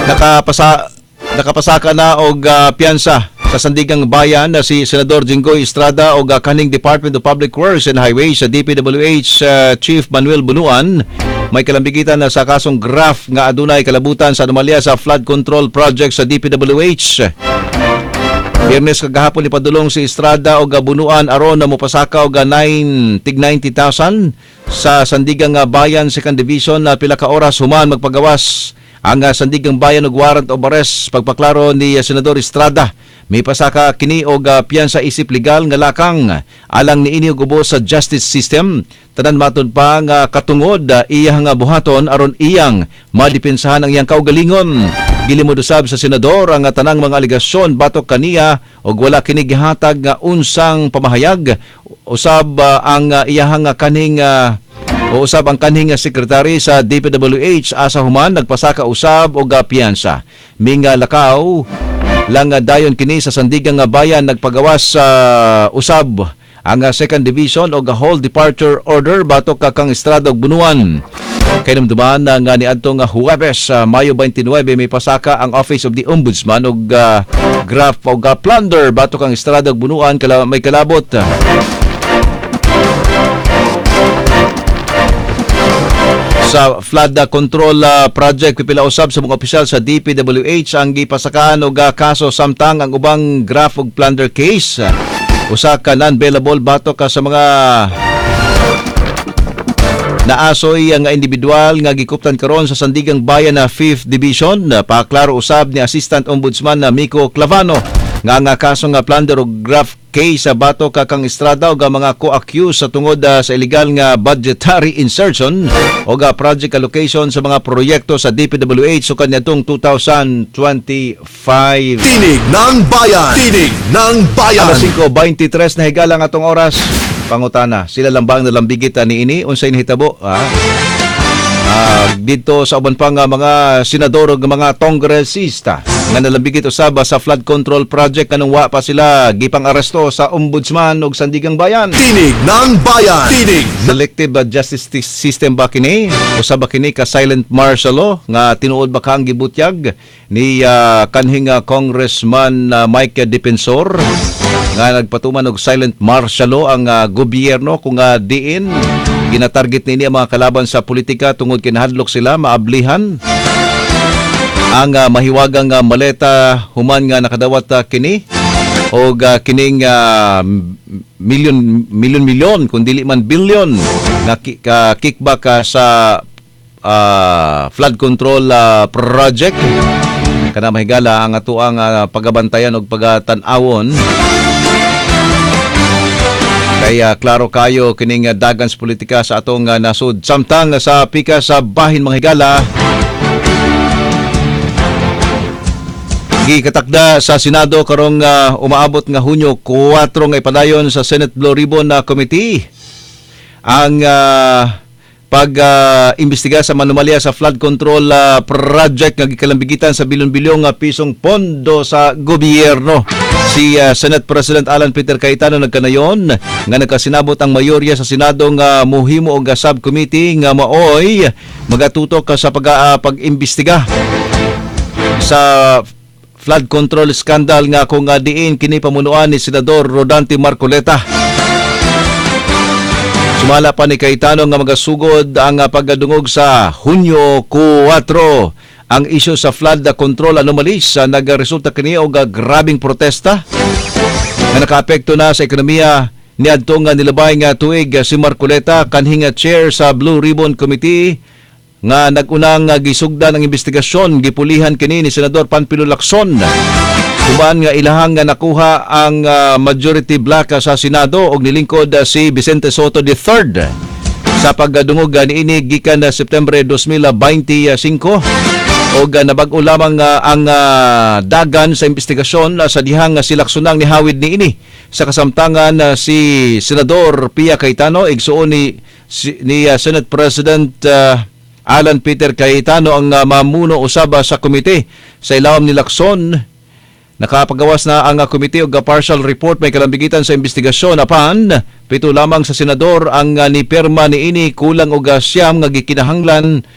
Nakapasaka na og piyansa sa Sandigang Bayan na si Senador Jinggoy Estrada og kaning Department of Public Works and Highways sa DPWH Chief Manuel Bunuan may kalambigitan na sa kasong graft nga adunay kalabutan sa anomalya sa flood control project sa DPWH. Biyernes kagahapon ipadulong si Estrada og Bunuan aron na mopasaka og 9 tig 90,000 sa Sandigang Bayan Second Division na pila ka oras human magpagawas ang Sandigang Bayan og warrant of arrest. Pagpaklaro ni Senador Estrada, may pasaka kini og piyansa isip legal nga lakang alang niini og ubos sa justice system. Tanan matud pa nga katungod iyang nga buhaton aron iyang madepensahan ang iyang kaugalingon. Gilimod usab sa senador ang tanang mga alegasyon batok kaniya og wala kini gihatag nga unsang pamahayag usab ang iyahang kaning o usab ang kanhing sekretary sa DPWH asa human nagpasaka usab og piyansa. Minga lakaw lang dayon kini sa Sandigang nga Bayan. Nagpagawas sa usab ang Second Division og hold departure order batok ka kang Estrada ug Bunuan. Kahinumduman na nga niadtong Huwebes sa Mayo 29 may pasaka ang Office of the Ombudsman og graft og plunder batok ang Estrada ug Bunuan may kalabot sa flood control project. Pipila usab sa mga opisyal sa DPWH ang gipasakaan og kaso samtang ang ubang graft ug plunder case usa ka non-bailable batok ka sa mga naasoy nga individual nga gikuptan karon sa Sandigang Bayan na 5th Division. Paklaro usab ni Assistant Ombudsman na Miko Clavano nga ang kaso nga plunder ug graft case sa batok ka kang Estrada ug ang mga co-accused sa tungod sa illegal nga budgetary insertion o project allocation sa mga proyekto sa DPWH sukad niadtong 2025. Tinig ng Bayan. Tinig ng Bayan. Alas 5:23 na higala ang atong oras. Pangutana, sila lang ba ang nalambigit niini? Unsay nahitabo? Dito sa uban pa nga mga senador ug mga kongresista nga nalambigit usab sa flood control project kanong wa pa sila gipang aresto sa Ombudsman ug Sandigang Bayan. Tinig ng Bayan. Tinig Selective justice system ba kini? Usa ba kini ka silent martial law nga tinuod ba ka ang gibutyag ni kanhing Congressman Mike Defensor nga nagpatuman og silent martial law ang gobyerno kung diin ginatarget niini ang mga kalaban sa politika tungod kinahadlok sila maablihan ang mahiwagang maleta human nga nakadawat kini og kining milyon milyon milyon kung dili man bilyon nga kickback sa flood control project? Kana, mahigala, ang atoang pagabantayan og pagatan-awon kaya klaro kayo kining dagan sa politika sa atong nasod. Samtang sa pika sa bahin, mga higala, gikatakda sa Senado karong umaabot nga Hunyo 4 nga ipadayon sa Senate Blue Ribbon na Committee ang pag imbestiga sa anomalya sa flood control project nga gikalambigitan sa bilyon-bilyong pisong pondo sa gobyerno. Si Senate President Alan Peter Cayetano nagkanayon nga nagkasinabot ang mayorya sa Senado nga muhimo og subcommittee nga maoy magatutok sa pag-imbestiga sa flood control scandal nga kung diin kini pamunuan ni Senador Rodante Marcoleta. Sumala pa ni Cayetano nga magasugod ang pagdungog sa Hunyo 4. Ang isyu sa flood control anomalies nagresulta kini og grabing protesta nga nakaapekto na sa ekonomiya niadtong nilabay nga tuig. Si Marcoleta, kanhing chair sa Blue Ribbon Committee nga nagunang gisugdan ang investigasyon, gipulihan kini ni Senador Panfilo Lacson human nga ilahang nga nakuha ang majority block sa Senado og nilingkod si Vicente Sotto III sa pagdungog niini gikan Setyembre 2025 og nabag-o lamang ang dagan sa investigasyon sa dihang si Lacson ang nihawid niini. Sa kasamtangan, si Senador Pia Cayetano, igsuon ni Senate President Alan Peter Cayetano, ang mamuno usab sa komite sa ilawom ni Lacson. Nakapagawas na ang komite og partial report may kalambigitan sa investigasyon, apan pito lamang sa senador ang nipirma niini, kulang og 9 nga gikinahanglan.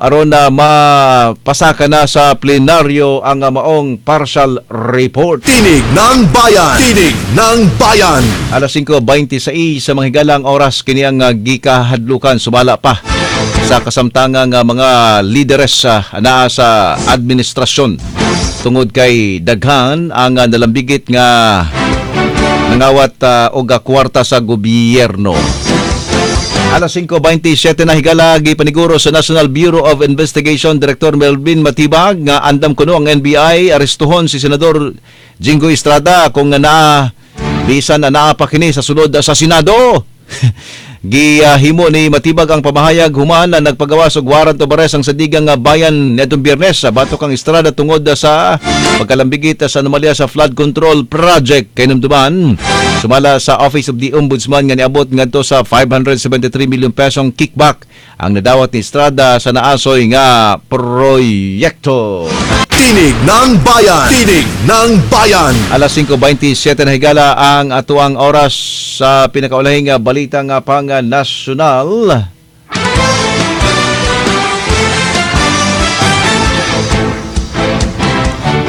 aron na mapasaka na sa plenaryo ang maong partial report. Tinig ng Bayan. Tinig ng Bayan. Alas 5:26 sa mga higalang oras kini ang gikahadlukan sumala pa sa kasamtangang mga lideres naa sa administrasyon tungod kay daghan ang nalambigit nga nangawat og kwarta sa gobyerno. Alas 5:27 na, higala, gipaniguro sa National Bureau of Investigation Director Melvin Matibag nga andam kuno ang NBI arestuhon si Senador Jinggoy Estrada kung nga naa bisan na naa pa kini sa sulod sa Senado. Gihimo ni Matibag ang pamahayag human na nagpagawas og warrant of arrest ang Sandigang nga Bayan niadtong Biyernes sa batok kang Estrada tungod sa pagkalambigit sa anomalya sa flood control project. Kahinumduman sumala sa Office of the Ombudsman nga niabot ngadto sa 573 million pesong kickback ang nadawat ni Estrada sa naasoy nga proyekto. Tinig ng Bayan. Tinig ng Bayan. Alas 5:27 na, higala, ang atuang oras sa pinakaulahing balita nga pang nasyonal.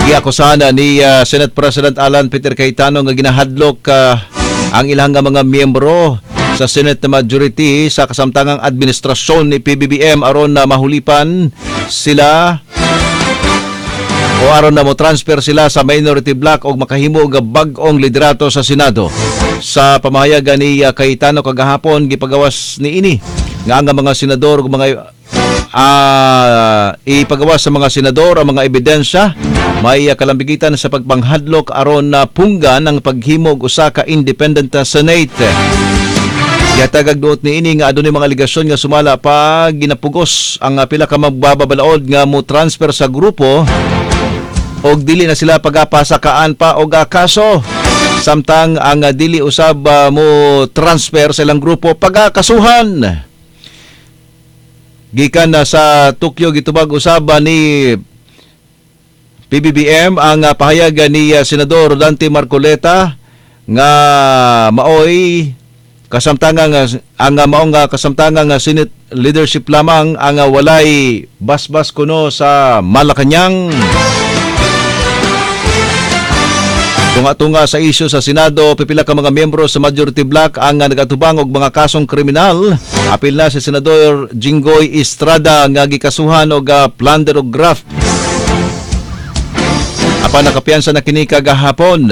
Giakusahan ni Senate President Alan Peter Cayetano nga ginahadlok ang ilang nga mga miyembro sa Senate majority sa kasamtangang administrasyon ni PBBM aron na mahulipan sila o aron na mo transfer sila sa minority bloc og makahimo og bag-ong liderato sa Senado. Sa pamahayag ni Cayetano kagahapon, gipagawas niini nga ang mga senador ug mga ipagawas sa mga senador ang mga ebidensya may kalambigitan sa pagpanghadlok aron na punggan ang paghimog usa ka independent Senate. Gihatagag duot niini nga adunay mga alegasyon nga sumala pa ginapugos ang pila ka magbababalaod nga mo transfer sa grupo og dili na sila pagapasakaan pa og kaso, samtang ang dili usab mo transfer sa ilang grupo pagakasuhan. Gikan na sa Tokyo, gitubag usab ni PBBM ang pahayag ni Senador Dante Marcoleta nga maoy kasamtangang ang maong kasamtangang Senate leadership lamang ang walay basbas kuno sa Malacañang. Tunga-tunga sa isyu sa Senado, pipila ka mga miyembro sa majority bloc ang nagatubang og mga kasong kriminal. Apil na si Senador Jinggoy Estrada nga gikasuhan og plunder og graft. Apan nakapiyansa na kini kagahapon.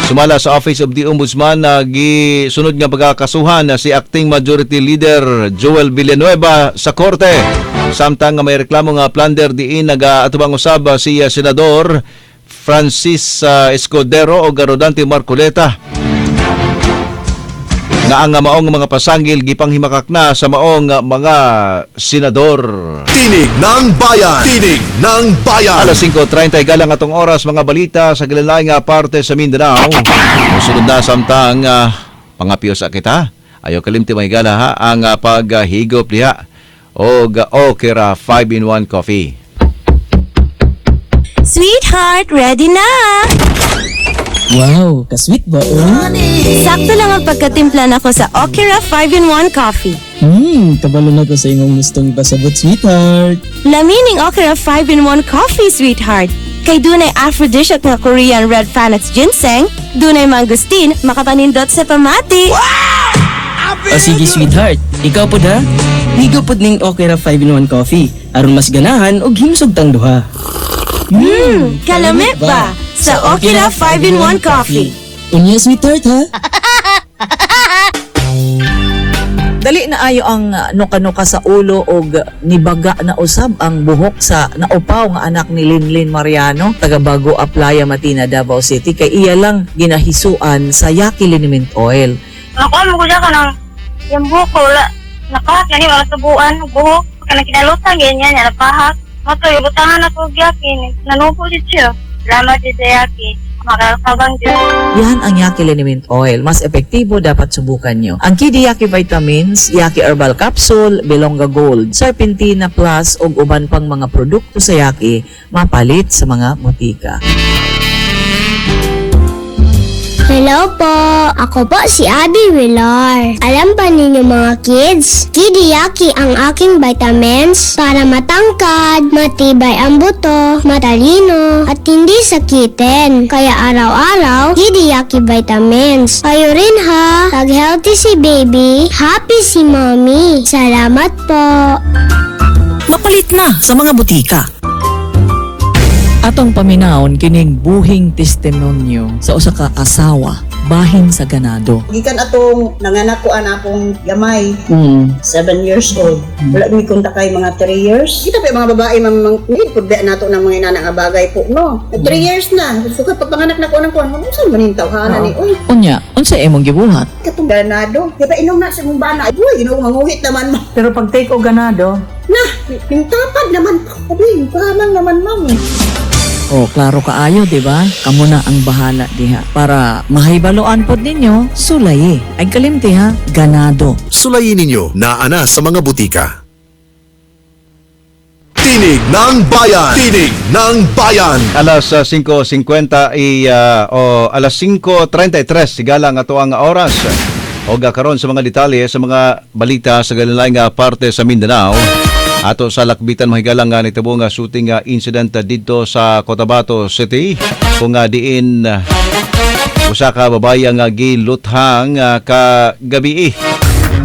Sumala sa Office of the Ombudsman na gisunod nga pagkakasuhan na si Acting Majority Leader Joel Villanueva sa korte. Samtang nga may reklamo nga plunder diin nagaatubang usab si Senador Francis Escudero o Rodante Marcoleta nga ang maong mga pasangil gipanghimakak na sa maong mga senador. Tinig ng Bayan. Tinig ng Bayan. Alas 5:30 galang atong oras, mga balita sa gilalayng nga parte sa Mindanao. Musunod na samtang pangapyo sa kita. Ayaw kalimti, mga higala ha, ang paghigop diha og Okra 5 in 1 coffee. Sweetheart, ready na! Wow, ka-sweet ba oh? Sakto lang ang pagkatimpla nako sa Okra 5-in-1 coffee. Kabalo na ko sa imong gustong ipasabot, sweetheart. Lami ning Okra 5-in-1 coffee, sweetheart. Kay dunay aphrodisiac nga Korean red Panax ginseng, dunay mangosteen, makapanindot sa pamati. O sige, sweetheart, ikaw pod ha. Higop pod ning Okra 5-in-1 coffee aron mas ganahan og himsog tang duha. Kalami ba? Sa Okra 5-in-1 coffee. Unya, sweetheart, ha. Dali na ayo ang nuka-nuka sa ulo og nibaga na usab ang buhok sa naupaw nga anak ni Linlin Mariano, taga Bago Aplaya, Matina, Davao City, kay iya lang ginahisuan sa Yaki Liniment Oil. Nakuha mo ko siya kanang yung buhok ko, wala. Napahak gani, wala subuan, buhok. Kanang kinalutan, ganyan, yan, napahak. Mato, ibutangan ako og Yaki. Nanubo di siya. Salamat di sa Yaki. Makakabang di. Yan ang Yaki Liniment Oil. Mas epektibo, dapat subukan nyo. Ang Kidi Yaki Vitamins, Yaki Herbal Capsule, Belonga Gold, Serpentina Plus ug uban pang mga produkto sa Yaki mapalit sa mga botika. Hello po! Ako po si Abby Villar. Alam ba ninyo, mga kids? Kidiyaki ang aking vitamins para matangkad, matibay ang buto, matalino, at hindi sakitin. Kaya araw-araw, Kidiyaki vitamins. Kayo rin ha! Pag healthy si baby, happy si mommy. Salamat po! Mapalit na sa mga butika. Atong paminawon kining buhing testimonyo sa usa ka asawa bahin sa ganado. Gikan atong nanganak ko ana akong gamay, 7 years old. Wala mi konta kay mga 3 years. Kita pa yung mga babae, mang need pud ba nato ng mga inana nga bagay po, no. 3 years na. So kapag panganak na ko anang kuan, unsa man ning tawhana ni? Uy, Unya, unsa imong gibuhat? Katong ganado. Di ba inom na sa mong bana? Uy, Ginoo, manguhit naman mo. Pero pag take og ganado, Na, yung tapad naman. Uy, yung naman, ma'am. Oh, klaro kaayo, di ba? Kamo na ang bahala diha. Para mahibaluan pod ninyo, sulayi. Ay kalimti ha, ganado. Sulayin ninyo naa na sa mga butika. Tinig ng Bayan! Tinig ng Bayan! Alas 5:50 i o alas 5:33 sigala nga ato ang oras. Og karon sa mga detalye sa mga balita sa galilaing nga parte sa Mindanao. Ato sa lakbitan, mahigala, nga nitabo nga shooting nga incident didto sa Cotabato City kung nga diin usa ka babaye nga giluthang kagabi.